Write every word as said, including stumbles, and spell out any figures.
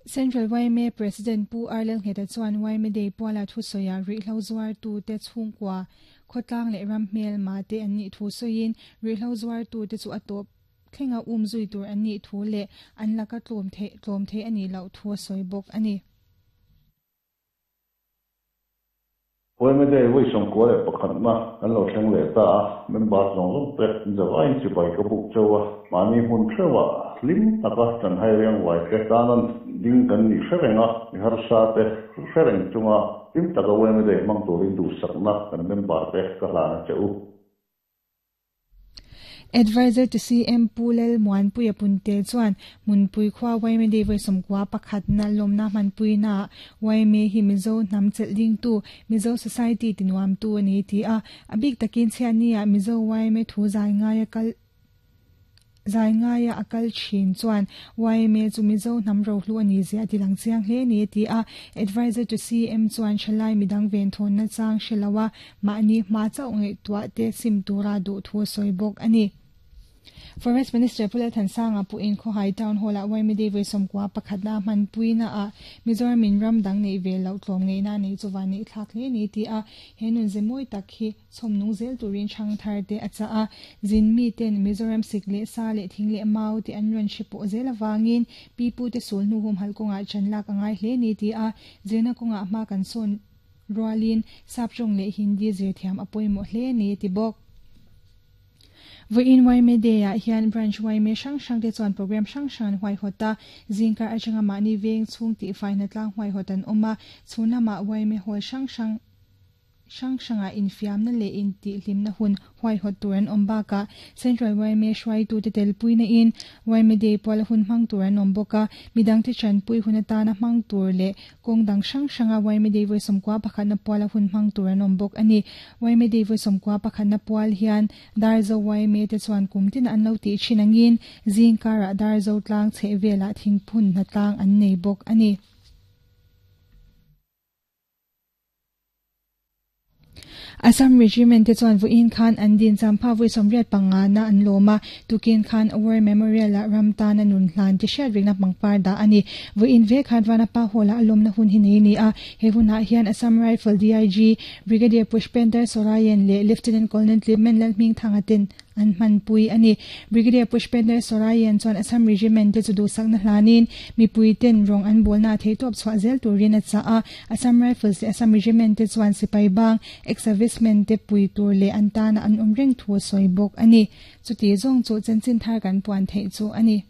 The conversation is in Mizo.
Central Y M A President Pu Arlel Ngheta chuan Y M A Day puala thu soya ri hlo zuar tu te chhungkwa khotlang le ram hmel ma te an ni thu soin ri hlo zuar tu te chu atop thlenga um zui tur an ni thu le an laka tlom the tlom the ani lo thu soi bok ani. Y M A Day voi som ko le pakhat na an lo thleng le ta a member zong zong te zawai chi bai ka buk chawa mani hun threwa lim taka chan hai riang wai te tanan ding kan ni hrerenga mi har sa te hrereng chunga lim taka Y M A Day mang turin du sakna kan member te ka hlana cheu. Advisor to C M Pulel Muan Puya Punte chuan Munpui khwa Y M A Day voi somkwa pakhat na lomna manpui na Y M A hi Mizo nam chelling tu Mizo Society tinuam tu ani ti a abik takin chiania Mizo Y M A thu zai nga ya kal zai nga ya akal chin chuan Y M A chu Mizo nam ro hlu ani zia tilang chiang hle ni ti a advisor to C M chuan thalai midang ven thon na chang hrilawa mani ma chau ngai tua te sim tura du thu soibok ani. Forest Minister Pulel Thansanga pu in Khawhai Town Hall a Y M A Day voi somkwa pakhat na manpui na a Mizoram in ram dang nei vel lo tlom ngei na nei chuwa nei thlak hle ni ti a henun zemoi tak hi chhomnung zel turin chang thar te acha a zin mi ten Mizoram sik le sa le thing le mau te an ron hripo zel awangin pipu te sul nu hum hal konga chanlak angai hle ni ti a zena konga ma kan son rualin sapchong le Hindi zir thiam apoimo hle ni ti bok. Voin Y M A Day a hian branch Y M A sang sang te chuan program sang sang huai hota zingkar atanga mani veng chung ti fai na tlang huai hotan oma chuna ma Y M A hall sang sang sang sanga infiam na le in ti hlim na hun huai hot turan ombaka Central Y M A hruai tu te tel pui na in Y M A Day pol hun hmang turan omboka midang te chan pui hunata na hmang tur le kongdang sang sanga Y M A Day voi somkwa pakhat na pol hun hmang turan ombok ani. Y M A Day voi somkwa pakhat na pol hian darzo Y M A te chuan kumtin an lo ti thinangin zingkara darzo tlang chhevela thingphun na tlang an nei bok ani. Assam Regiment te chuan vuin khan an din champha vui somriat panga na an loma tukin khan War Memorial a ramta na nun hlan ti hriat ringna pangpar da ani. Vuin ve khan wana pa hola alom na hun hi nei ni a he huna hian Assam Rifle D I G Brigadier Pushpender Sorayen le Lieutenant Colonel Clement Lalming Thangatin an man pui ani. Brigadier Pushpender Sorayen chuan Assam Regiment te chu du sakna hlanin mi pui ten rong an bolna thei top chwa zel turin a cha a Assam Rifles le Assam Regiment te chuan sipai bang ex-servicemen te pui tur le an tana an umreng thu soibok ani. Chuti zong chu chanchin thar kan puan thei chu ani.